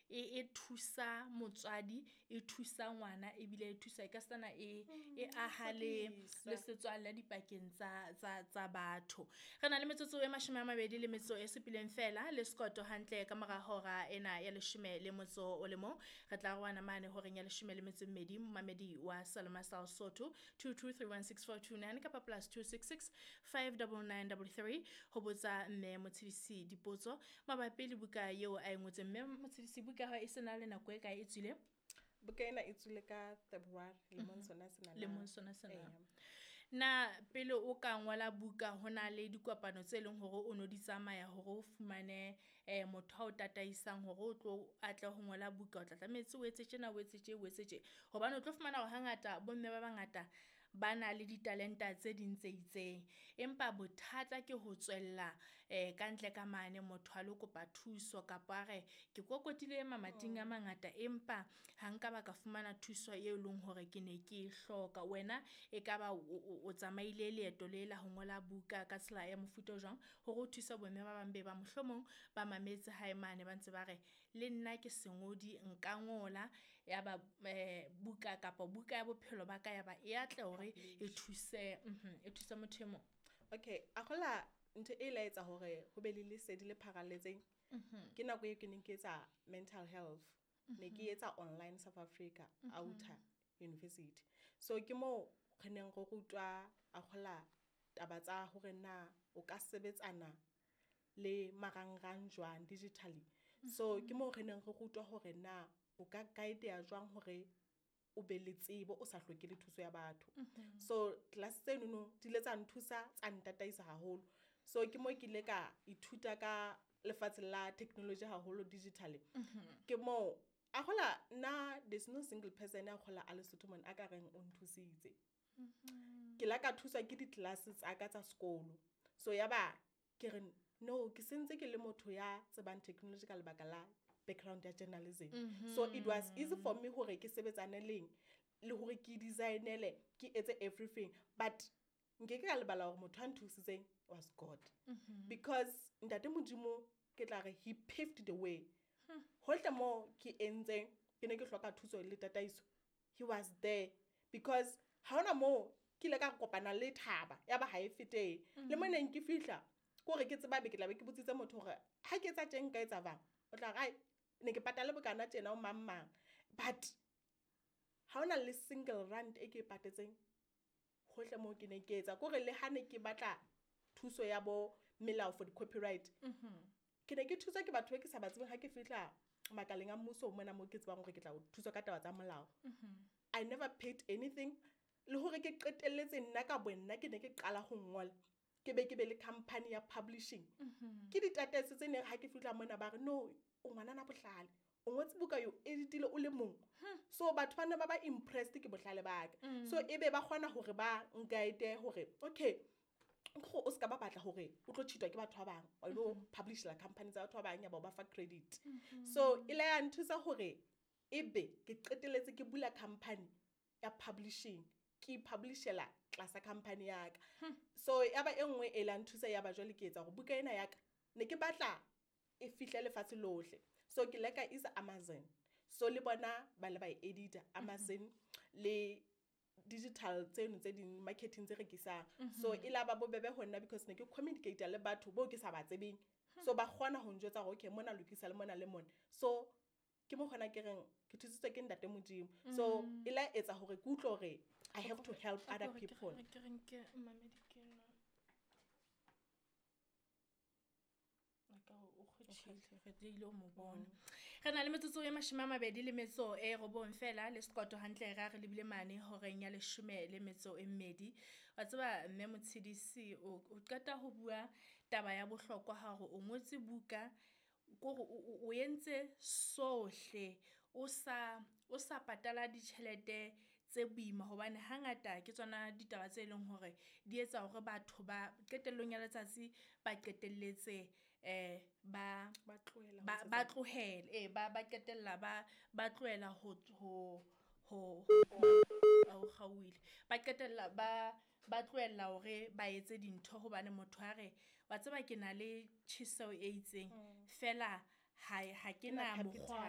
e thusa motswadi, e thusa ngwana, ebile e thusa e ka setsana e aha le setswalle dipakeng tsa batho. Re na le metsotso e 27 fela le sekoto hantle ka mora hora ena ya 11. Re tla roana mane horeng ya 12 momamedi wa Saloma sa Sotho 22316429 kapa +266 59933 ho botsa mme Motshidisi dipotso mabapi le buka eo a e ngotseng. Mme Motshidisi, buka ya hao e sena le nako e kae e tswile? Buka ena e tswile ka February lemong sona sena. Lemong sona sena. Na pele o ka ngola buka hona le dikopano tse leng hore o no di tsamaya hore o fumane motho a o tataisang hore o tlo atle ho ngola buka, o tla tlametse o etse tjena, o etse tje, o etse tje. Hobane o tlo fumana hore hangata bomme ba bangata ba na le ditalenta tse ding tse itseng, empa bothata ke ho tswella ka ntle ka mane motho a lo kopa thuso kapa a re ke kokotile mamating a mangata empa ha nka ba ka fumana thuso eo leng hore ke ne ke e hloka. Wena e ka ba o tsamaile leeto le la ho ngola buka ka tsela ya mofuta o jwang hore o thuse bomme ba bang be ba mohlomong ba mametse hae mane ba ntse ba re le nna ke sengodi nka ngola ya ba buka kapa buka ya bophelo ba ka ya ba e atle hore e thuse e thuse motho e mong. Okay, a gola ntho e la etsa hore ho be le lesedi le pharalletseng. Ke nako eo ke neng ke etsa mental health, ne ke etsa online South Africa Outer University. So ke mo re neng re rutwa a gola taba tsa hore na o ka sebetsana le marangrang jwang digitally. So ke mo re neng re rutwa hore na o ka guide ya jwang hore o be le tsebo o sa hloke le thuso ya batho. So class tseno di ile tsa nthusa tsa ntataisa haholo. So ke mo ke ile ka ithuta ka lefatshe la technology haholo digitally. Ke mo a gola nna there's no single person a gola a Lesotho mona a ka reng o nthusitse. Ke la ka thuswa ke di-class tsa ka tsa sekolo. So ya ba ke re no ke sentse ke le motho ya tsebang technology ka lebaka la background ya journalism. So it was easy for me hore ke sebetsane leng le hore ke designele ke etse everything, but nke ke ka lebala hore motho a nthusitseng was God. Because ntate Modimo ke tla re he paved the way. Hohle mo ke entseng ke ne ke hloka thuso le tataiso, he was there. Because ha hona mo ke ile ka kopana le thaba ya ba ha e fete le mo neng ke fihla kore ke tseba be ke tla be ke botsitse motho hore ha ke etsa tjeng nka etsa bang, o tla re ne ke patale bokana tjena o mang mang, but ha hona le single rand e ke e patetseng hohle mo ke ne ke etsa. Kore le ha ne ke batla thuso ya bo melao for the copyright, ke ne ke thuswa ke batho ba ke sa ba tsebeng. Ha ke fihla makaleng a mmuso mona mo ke tsebang hore ke tla thuswa ka taba tsa molao, I never paid anything. Le hore ke qetelletse nna ka bonna ke ne ke qala ho ngola, ke be le company ya publishing. Ke ditataiso tse neng ha ke fihla mona ba re no o ngwanana bohlale, o ngotse buka yo editile o le mong. So batho ba ne ba impressed ke bohlale ba ka. So ebe ba kgona hore ba guide hore okay go o ska ba batla hore o tlo cheatwa ke batho ba bang wa lo publish la company tsa batho ba bang ya ba fa credit. So e la ya nthusa hore ebe ke qetelletse ke bula company ya publishing, ke publishela tlasa company ya ka. So ya ba e nngwe e la nthusa ya ba jwale ke etsa hore buka ena ya ka ne ke batla e fihle lefatshe lohle. So ke leka isa Amazon. So le bona ba le ba e edita Amazon le digital tseno tse ding marketing tse rekisang. So e la ba bobebe ho nna because ne ke communicate le batho bo ke sa ba tsebeng. So ba kgona ho njwetsa hore okay mona lokisa le mona le mona. So ke mo kgona ke reng ke thusitswe ke ntate Modimo. So e la etsa hore ke utlwe hore I have to help other people. Ke reng ke mamedi ke nna. Re na le metsotso e 29 fela le sekoto hantle ra re lebile mane horeng ya 12. Wa tseba mme Motshidisi o qeta ho bua taba ya bohlokwa hore o ngotse buka kore o entse sohle o sa patala ditjhelete tse boima, hobane hangata ke tsona ditaba tse leng hore di etsa hore batho ba qetellong ya letsatsi ba qetelletse ba tlohele ba qetella ba tlohela ho kgauwile ba qetella ba tlohella hore ba etse dintho hobane motho a re wa tseba ke na le tjheseho e itseng fela ha ke na mokgwa.